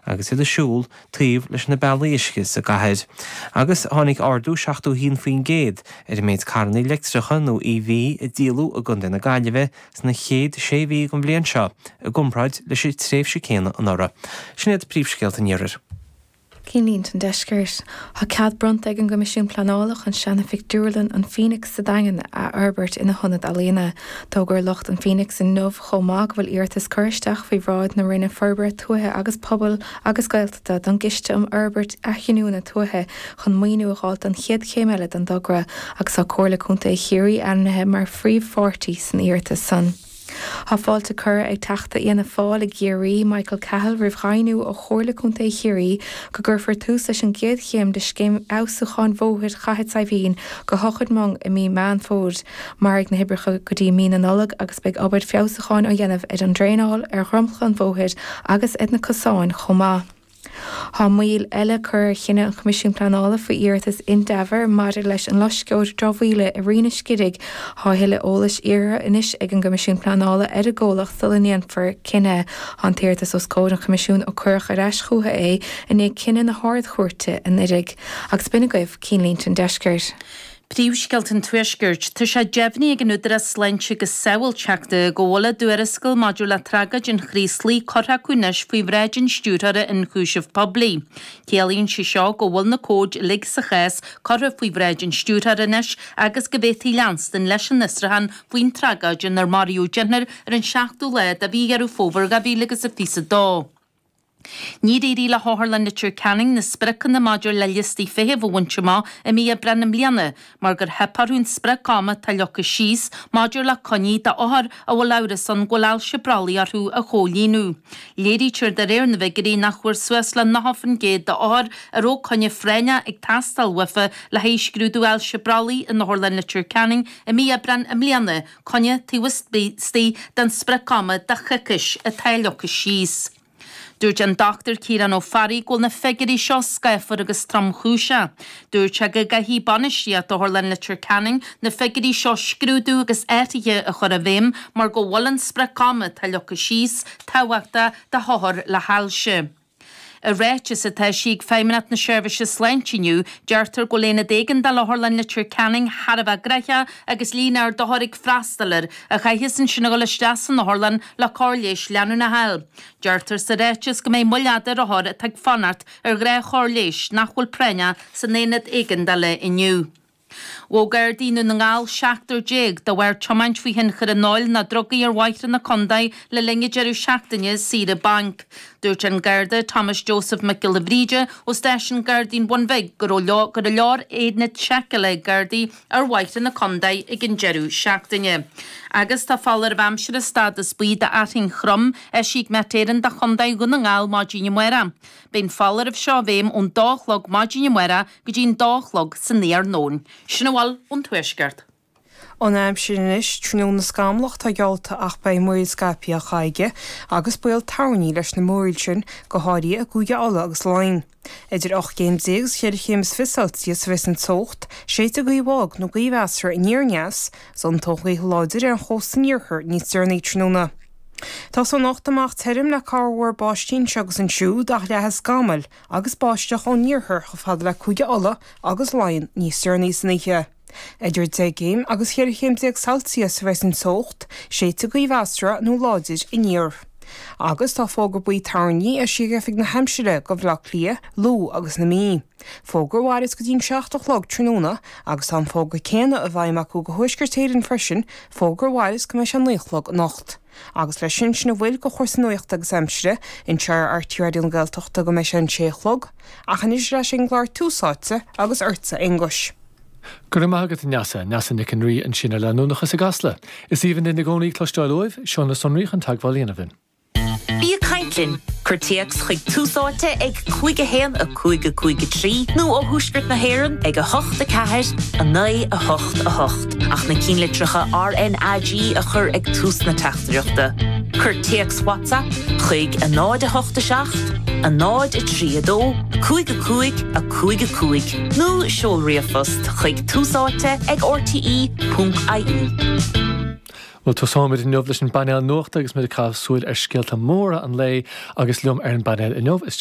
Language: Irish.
agus iad ag siúl taobh leis na bealaí uisce sa gcathair. Agus tháinig ardú 71% ar an méid carranna leictreacha nó EV a díoladh i gContae na Gaillimhe sna chéad sé mhí den bhliain seo i gcomparáid leis an tréimhse céanna anuraidh. Sin iad príomhscéalta an Iarthair. Cinnlínte an Deiscirt. Tá cead bronnta ag an gCoimisiún Pleanála chun seana-phictiúrlann an Phoenix sa Daingean a fhorbairt ina hionad ealaíona. D'fhógair lucht an Phoenix inniu chomh maith go bhfuil iarratas curtha isteach faoi bhráid na Roinne Forbartha Tuaithe agus Pobail agus Gaeltachta don gCiste um Fhorbairt Athghiniúna Tuaithe chun maoiniú a dh'fháilt don chéad chéim eile den dtogra agus tá Comhairle Contae Chiarraí ainmnithe mar phríomhpháirtí san iarratas san. Tá fáilte curtha ag Teachta Fhianna Fáil i gCiarraí, Michael Cahill, roimh dheimhniú ó Chomhairle Contae Chiarraí go gcuirfear tús leis an gcéad chéim de scéim fheabhsúcháin bhóthair Chathair Saidhbhín go hEochair Mhong i mí Meán Fómhair. Mairfidh na hoibreacha go dtí mí na Nollag agus beidh obair feabhsúcháin á dhéanamh ar an draenáil, ar dhromchla an bhóthair agus ar na cosáin chomh maith. Tá moill eile curtha ar chinneadh an Choimisiúin Pleanála faoi iarratas Indaver maidir leis an loisceoir dramhaíola i Rinn an Scidigh. Tá a thuilleadh eolais iarrtha anois ag an gCoimisiún Pleanála ar an gcomhlacht sula ndéanfar cinneadh. Tá an t-iarratas os comhair an Choimisiúin ó cuireadh ar ais chucu é i ndiaidh cinneadh na hArd-Chúirte anuraidh. Agus b'in agaibh Cinnlínte an Deiscirt. Príomhscéalta an Tuaiscirt. Tá sé deimhnithe ag an Údarás Sláinte agus Sábháilteachta go bhfuil a dtuarascáil maidir le tragóid an Chraoslaigh curtha acu anois faoi bhráid an Stiúrthóra Ionchúiseamh Poiblí. Ciallaíonn sé seo go bhfuil na comhaid uilig sa chás curtha faoi bhráid an Stiúrthóra anois agus go bhféadfaí leanstan leis an fhiosrúchán faoin tragóid inar maraíodh deichniúr ar an seachtú lá de mhí Dheireadh Fómhair 2022. Níor éirigh le hOtharlann Leitir Ceanainn na spriocanna maidir le liostaí feithimh a bhaint amach i mí Aibreáin i mbliana mar gur theip orthu an sprioc ama atá leagtha síos maidir le coinní d'othair a bhfuil amhras ann go bhfuil ailse brollaigh orthu a chomhlíonadh. Léirítear de réir na bhfigiúirí nach bhfuair suas le 90% d'othair a raibh coinne phráinneach ag teastáil uafa le haghaidh scrúdú ailse brollaigh in Otharlann Leitir Ceanainn i mí Aibreáin i mbliana coinne taobh istigh den sprioc ama de choicís atá leagtha síos. Dúirt an Dr Ciarán Ó Fearraigh go bhfuil na figiúirí seo scáfar agus tromchúiseach. Dúirt sé go gcaithfidh bainistíocht Otharlann Leitir Ceanainn na figiúirí seo scrúdú agus athruithe a chur i bhfeidhm mar go bhfuil an sprioc ama atá leagtha síos tábhachtach do hothair le hailse. I ráiteas atá eisithe ag Feidhmeannacht na Seirbhíse Sláinte inniu, deirtear go bhfuil Aonad Éigeandála Otharlann Leitir Ceanainn thar a bheith gnaitheach agus líon ard othar ag freastal air, a chaithfeas ansin a dhul isteach san otharlann le cóir leighis leanúnach a fháil. Deirtear sa ráiteas go mbeidh moill fhada ar othair atá ag fanacht ar ghnáthchóir leighis nach bhfuil práinneach san aonad éigeandála inniu. Ghabh Gardaí i nDún na nGall seachtar de bharr tiomáint faoi thionchar an óil nó drugaí ar bhóithre na contae le linn an deireadh seachtaine saoire bainc. Dúirt an Garda Thomas Joseph Mac Giolla Bhríde ó stáisiún Gardaí an Bhun Bhig go raibh go leor aonad seiceála ag Gardaí ar bhóithre na contae ag an deireadh seachtaine. Agus tá foláireamh aimsire stádas buí d'fhearthainn throm eisithe ag Met Éireann do Chontae Dhún na nGall maidin amárach. Beidh an foláireamh seo i bhfeidhm ón dó a chlog maidin amárach go dtí an dó a chlog san iarnóin. Sin a bhfuil ón Tuaisceart. An aimsir anois, Tráthnóna scamallach atá geallta ach beidh múraíl scaipthe á chaitheamh agus baol toirní leis na múraíl sin, go háirithe i gCúige Uladh agus Laighean. Idir 18 céim agus cheithre chéim is fiche Celsius a bheas an teocht, séidfidh gaoth bhog nó gaoth mheasartha aniar aneas, is tiontóidh gaoth láidir ar an chósta an iarthair níos deireanaí tráthnóna. Tosóidh anocht amach tirim le corrmhúr báistí anseo agus ansiúd ach leathfaidh scamaill agus báisteach ón iarthar chomh fada le Cúige Uladh agus Laighean níos deireanaí san oíche. Idir 10 gcéim agus 14 chéim Celsius a bheas an teocht, séidfidh gaoth mheasartha nó láidir aniar. Agus tá fógra buí toirní eisithe ag Oifig na hAimsire do Bhaile Átha Cliath, Lú agus na Mí. Fógra a mhairfeas go dtí an 7 a chlog tráthnóna agus tá an fógra céanna i bhfeidhm acu do Thuaisceart Éireann freisin, fógra a mhairfeas go mbeidh sé 9 a chlog anocht. Agus leis sin, sin a bhfuil de chúrsaí nuachta agus aimsire anseo ar RTÉ Raidió na Gaeltachta go mbeidh sé an sé a chlog, ach anois ar ais ag an gclár Tús Áite agus ortsa Aonghus. Go raibh maith agat a Neasa. Neasa Nic an Rí ansin ar Leanúnachas i gCasla. Is aoibhinn linn i gcónaí cloisteáil uaibh, seo na sonraí chun teagmháil a dhéanamh linn. Bí ag caint linn! Cuir téacs chuig Tús Áite ag 5 1 5 5 3 nó ó Thuaisceart na hÉireann ag 8 4 9 8 8 ach na cinnlitreacha RnaG a chur ag tús na teachtaireachta. Cuir téacs WhatsApp chuig 0 8 7 0 3 2 5 5 5 5 nó seol ríomhphost chuig túsáite ag rte.ie. Bhuel, tosóimid inniu leis an bpainéal nuachta agus muid ag caitheamh súil ar scéalta móra an lae agus liom ar an bpainéal inniu is.